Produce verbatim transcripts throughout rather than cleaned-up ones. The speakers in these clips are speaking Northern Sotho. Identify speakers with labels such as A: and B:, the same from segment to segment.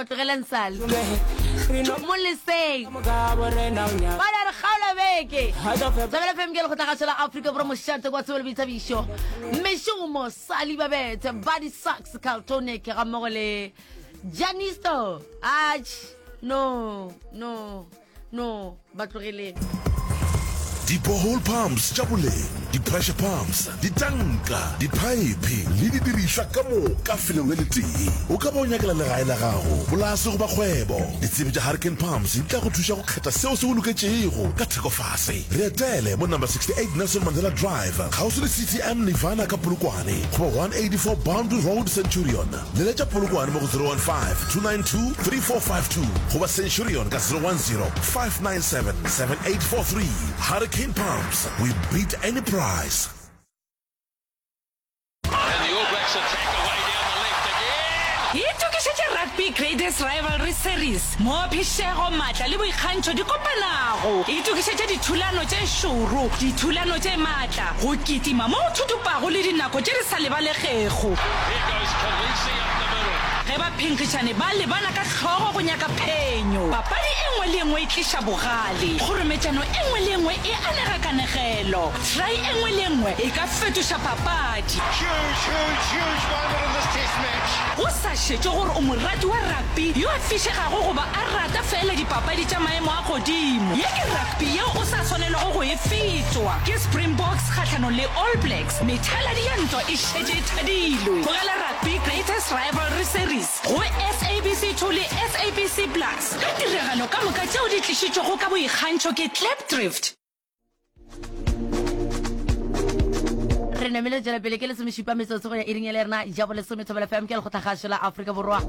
A: Aowa, tlogelang Sally. Mo leseng. Ba re kgaola beke. Thobela F M ke lekgotlagašo la Afrika Borwa, mošate kwa tsebo le boithabišo. Mešomo, Sally Babethe, Buddy Sachs, Carltonic ga mmogo le Janisto. Ach, no, no, no, ba tlogeleng.
B: Di-borehole pumps tša boleng, di-pressure pumps, ditanka, diphaephe le didirišwa ka moka felong le letee. O ka ba o nyakela legae la gago, polase goba kgwebo. Ditsebi tša Hurricane Pumps di tla go thuša go kgetha seo se go loketšego ka theko fase. Re etele mo number sixty-eight Nelson Mandela Drive, kgauswi le C T M Nirvana ka Polokwane, goba one eighty-four Boundary Road, Centurion. Leletša Polokwane mo go zero one five, two nine two, three four five two goba Centurion ka zero one zero, five nine seven, seven eight four three. Hurricane Pumps, we beat any price.
C: Itokišetše Rugby Greatest Rivalry Series, moo phišego, maatla le boikgantšho di kopanago. Itokišetše dithulano tše šoro, dithulano tše maatla, go kitima mo go thuthupago le dinako tše di sa lebalegego. Ge baphenkgišani ba lebana ka hlogo go nyaka phenyo, papadi e nngwe le e nngwe e tliša bogale. Kgorometšano e nngwe le e nngwe e anega kanegelo. Try e nngwe le e nngwe e ka fetoša papadi. Go sa šetšwe gore o morati wa rugby yo a fišegago goba a rata feela dipapadi tša maemo a godimo, ye ke rugby yeo o sa swanelwago go e fetwa. Ke Springboks kgahlanong le All Blacks, methaladi ya ntwa e šetše e thadilwe. Bogela Rugby Greatest Rivalry Series go S A B C two le S A B C Plus ka tiragalo ka moka tšeo di tlišitšwego ka boikgantšho ke Klipdrift.
A: Re namile tšwela pele ke lesomešupa metsotso go ya iring ya le rena ja bolesome. Thobela F M ke lekgotlagašo la Afrika Borwa,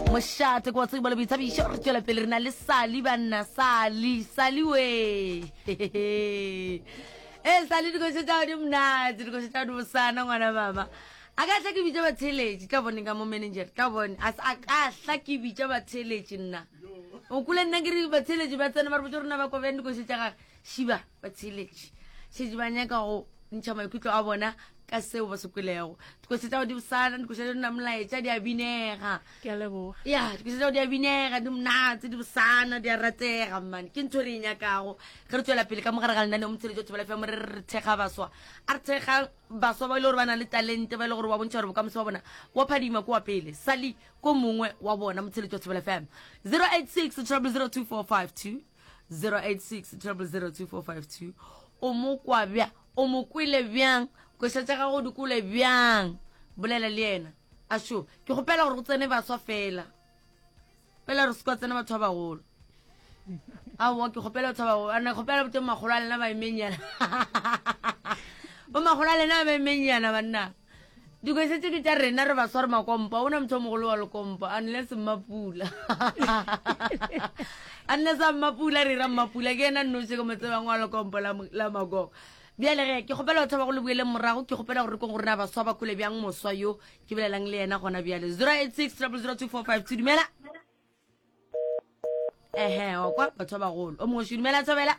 A: mošate ke wa tsebo le boithabišo. Re tšwela pele re na le Sally, banna. Sally, Sally we, e Sally, dikoša tša di monate, dikoša tša di bosana ngwana mama. A ka tla ke bitša batheeletši, tla boneng ka mo manager, tla bone a a ka tla ke bitša batheeletši. Nna o kule nna ke re batheeletši ba tsena ba re botša rona ba kwa bjang dikoša tša gage. Šiba batheeletši šetše ba nyaka go ntšha maikutlo a bona ka seo ba se kwelego. Dikoša tša go di bosana, dikoša tša di molaetša, di a binega.
D: Ke a leboga.
A: Ya, dikoša tša go di a binega, di monate, di bosana, di a ratega man. Ke ntho re e nyakago ge re tswela pele ka mogare ga lenaneo motsheletšo wa Thobela F M. Re re thekga baswa, a re thekga baswa ba e le gore ba na le talente, ba e le gore ba bontšha gore bokamoso ba bona wa phadima ko wa pele. Sally ko mongwe wa bona. Motsheletšo wa Thobela F M, zero eight six triple zero two four five two, zero eight six triple zero two four five two. O mo kwa bjang? O mo kwele bjang? Koša tša gago di kole bjang? Bolela le yena. Ašo, ke kgopela gore go tsene baswa fela. Fela re se kwa tsena batho ba bagolo. Aowa, ke kgopela batho ba bagolo. Ana kgopela botho makgolo a lena ba emenyana. Bo makgolo a lena ba emenyana banna. Dikoša tše ke tša rena, re baswa re makompa. O na motho o mogolo wa lekompa, unless Mmapula. Unless a Mmapula, re ra Mmapula, ke yena nnoši ke mo tsebang wa lekompo la mo-, la Magogo. Bjale ge, ke kgopela batho ba go le boeleng morago, ke kgopela gore re kong gore na baswa ba kole bjang moswa yo ke bolelang le yena gona bjale. zero eight six triple zero two four five two, dumela. Ehe, wa kwa batho ba bagolo. O mongwe dumela Thobela.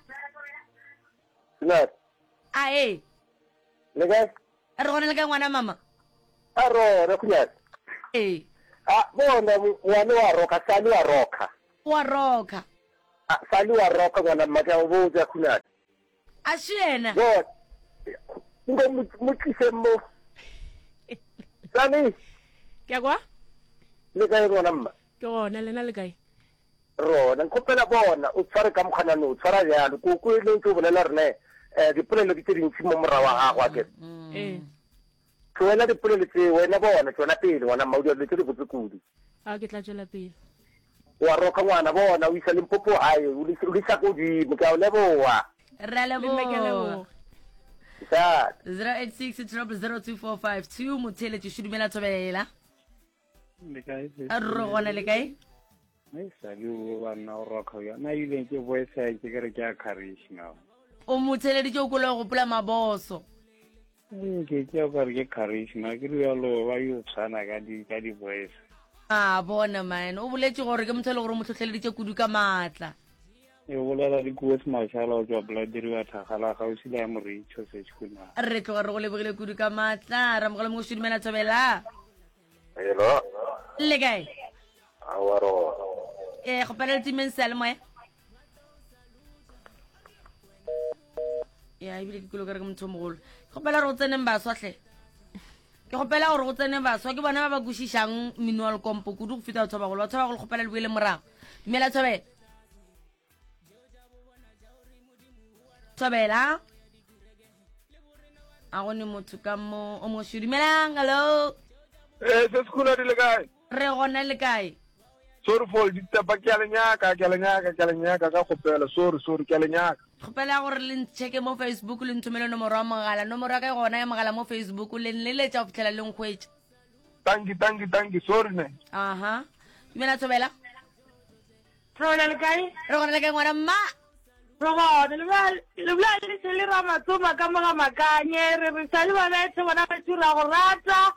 E: Dumela.
A: A e.
E: Le kae?
A: Re gona le kae ngwana mama?
E: A rona khunyana.
A: Ee.
E: A bona ngwana wa roka, Sally wa roka.
A: Wa roka.
E: A Sally wa roka ngwana mma, ke a go botša khunyana.
A: A se yena.
E: Bona. Nko mo, mo tlise mo. Sally.
D: Ke a kwa?
E: Le kae ngwana mma?
D: Ke gona, lena le kae?
E: Rona, nkgopela bona o tshware ka mokgwanano, o tshwara bjalo. Koko e le ntse o bolela rena, eh, dipolelo ke tše dintši mo morago wa gago, a kere.
D: Ee.
E: Tlohela dipolelo tše, wena bona, tšwela pele ngwana mma, o dira dilo tše dibotse kudu.
D: A ke tla tšwela pele.
E: Wa roka ngwana, bona, o isa Limpopo gae, o le, o le isa ko godimo, ke a o leboga.
A: Re a
D: Le nna ke a
A: leboga.
D: leboga.
E: Ntate.
A: zero eight six triple zero two four five two, motheeletši Šudumela Thobela.
F: Le kae, sesi?
A: Re gona, le kae?
F: Ai, Sally, o banna o roka bjang. Na ebile ke voice ya ke re ke a charisma.
A: O mo theeleditše o kole go gopola maboso.
F: Ee, ke tšea o kare ke charisma, ke rialo ba yo tshwana ka di, ka di voice.
A: A bona man, o boletše gore ke motho e le gore o mo hlohleleditše kudu ka maatla.
F: E bolela le Kuos Mashala o tšwa Blood River Thagala gausi le ya Moritšho Seshuna.
A: Re tloga re go lebogile kudu ka maatla. Ramogolo mongwe Šudumela Thobela.
E: Hello.
A: Le kae?
E: Aowa, re gona.
A: Eh kgopela le timeng seyalemoya. Ya ebile ke kilo ka re ke motho o mogolo. Ke kgopela gore go tseneng baswa hle. Ke kgopela gore go tsene baswa ke bona ba ba kwešišang mmino wa lekompo kudu go feta batho ba bagolo. Batho ba bagolo kgopela le boele morago. Dumela Thobela. Thobela. A go ne motho ka mo o mošo. Dumelang, hello.
G: Eh, se sekhula di le kae?
A: Re gona le kae?
G: Sorry for ditepa ke a le nyaka, ke a le nyaka, ke a le nyaka ka kgopela. Sorry, sorry, ke a le nyaka.
A: Kgopela gore le ncheke mo Facebook le nthomele nomoro ya mogala. Nomoro ya ka e gona ya mogala mo Facebook le nleletša go fihlela le nkhwetša.
G: Thank you, thank you, thank you. Sorry ne.
A: Aha. Dumela Thobela.
H: Thobela le kae?
A: Re gona le kae ngwana mma?
H: Re gona. Le bolela le bolela le se le Ramatsoma ka mo ga Makanye. Re re sa le ba bethe bona batho ra go rata.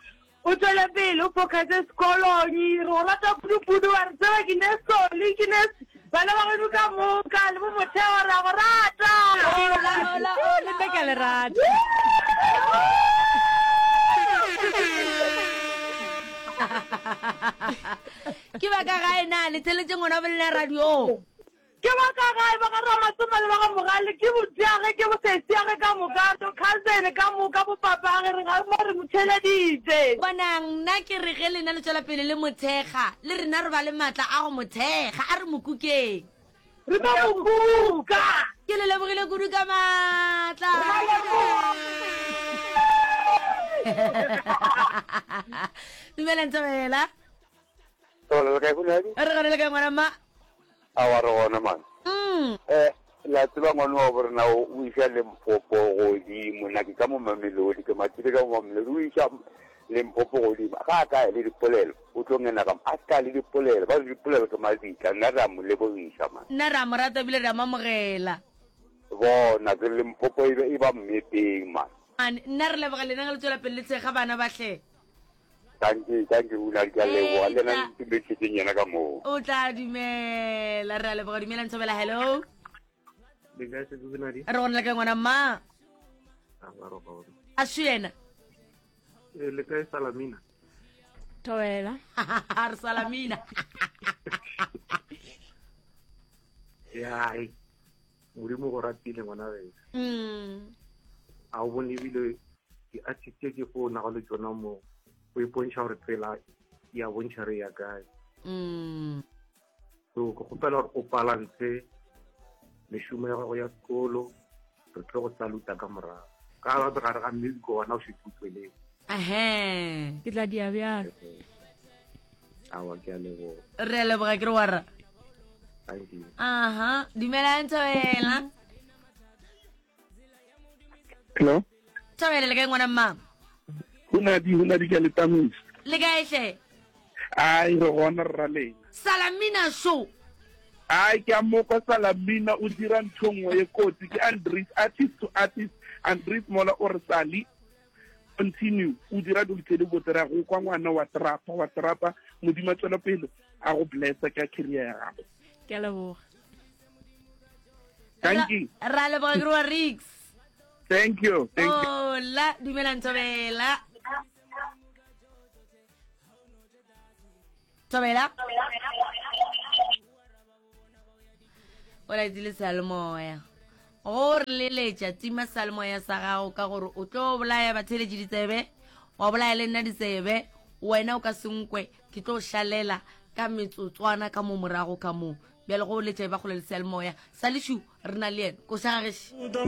H: O tšwele pele o focuse sekolong. Re go rata kudu-kudu wa re tseba ke ne Soli ke ne bana ba geno ka moka le bo Motheo re a go rata.
D: Hola, hola, oh, le nna ke a le rata.
A: Ke ba ka gae na le theletše ngwana wa bolena radio?
H: Ke ba ka gae, ba ga Ramatsoma le ba ga Mogale, ke botiage, ke bosesiage ka moka, bo cousin ka moka, bo papage, re ga mo re mo theeleditše.
A: Bonang, nna ke re ge lena le tšwela pele le mo thekga, le rena re ba le matla a go mo thekga. A re mo kukeng.
H: Re tlo mo kuka.
A: Ke le lebogile kudu ka matla.
H: Re a leboga.
A: Dumelang Thobela.
E: Thobela le kae Hunadi?
A: Re gona le kae ngwana mma?
E: Aowa re gona man.
A: Mm.
E: Eh, la tseba ngwana wa borena o o iša Limpopo godimo, nna ke ka mo Mamelodi, ke mathile ka mo Mamelodi, o iša Limpopo godimo. Ga a ka ya le dipolelo, o tlo ngena ka mo, a se ka ya le dipolelo, ba re dipolelo ke mabitla, nna re a mo lebogiša man.
A: Nna re a mo rata ebile re a mo amogela.
E: Bona, ke Limpopo e be e ba mmepeng man.
A: Man, nna re leboga lena ge le tšwela pele le thekga bana ba hle.
E: Dankie, dankie Hunadi, ke a leboga. Le yena
A: Etla.
E: ntumedišetšeng yena ka moo.
A: O tla dumela. Re a leboga. Dumela Ntshobela, hello.
F: Le kae sesi Hunadi?
A: Re gona le kae ngwana mma?
F: A ba re gona.
A: A šo yena.
F: Eh, le kae Salamina?
D: Thobela.
A: Re Salamina.
F: Yai. Modimo go ratile ngwana wena.
A: Mm.
F: A o bone ebile di-artist tše ke fo nago le tšona mo o ipontšha gore tsela ya bontšha re ya kae.
A: Mm.
F: So ke kgopela gore o balance mešomo ya gago ya sekolo, re tlo go saluta ka morago. Ka ba gare ga music gona o šetše o tsweletse.
A: Ahee.
D: Ke tla dia bjalo.
F: Aowa ke a leboga.
A: Re a leboga ke re wa rra.
F: Thank you.
A: Aha, dumelang Thobela.
G: Hello.
A: Thobela le kae ngwana mma?
G: Hunadi, Hunadi ke a le tamisa.
A: Le kae hle?
G: Ai, re gona rra lena.
A: Salamina show.
G: Ai, ke a mokwa Salamina o dira ntho nngwe ye kotsi. Ke Andries, artist to artist. Andries mola o re sali. Continue, o dira dilo tse di botse, re a go kwa ngwana wa trapa, wa trapa. Modimo a tswela pele a go blessa ka career ya gago.
D: Ke a leboga.
G: Thank you.
A: Ra leboga ke re wa Ricks.
G: Thank you. Thank you.
A: Hola, dumelang Thobela. Thobela. O laetsile seyalemoya. Go re leletša tima seyalemoya sa gago ka gore o tlo bolaya batheeletši ditsebe, wa bolaya le nna ditsebe, wena o ka se nkwe, ke tlo šalela ka metsotswana ka mo morago ka mo. Bjale go letša e ba kgole le seyalemoya. Sališu re na le yena. Koša ga gešo.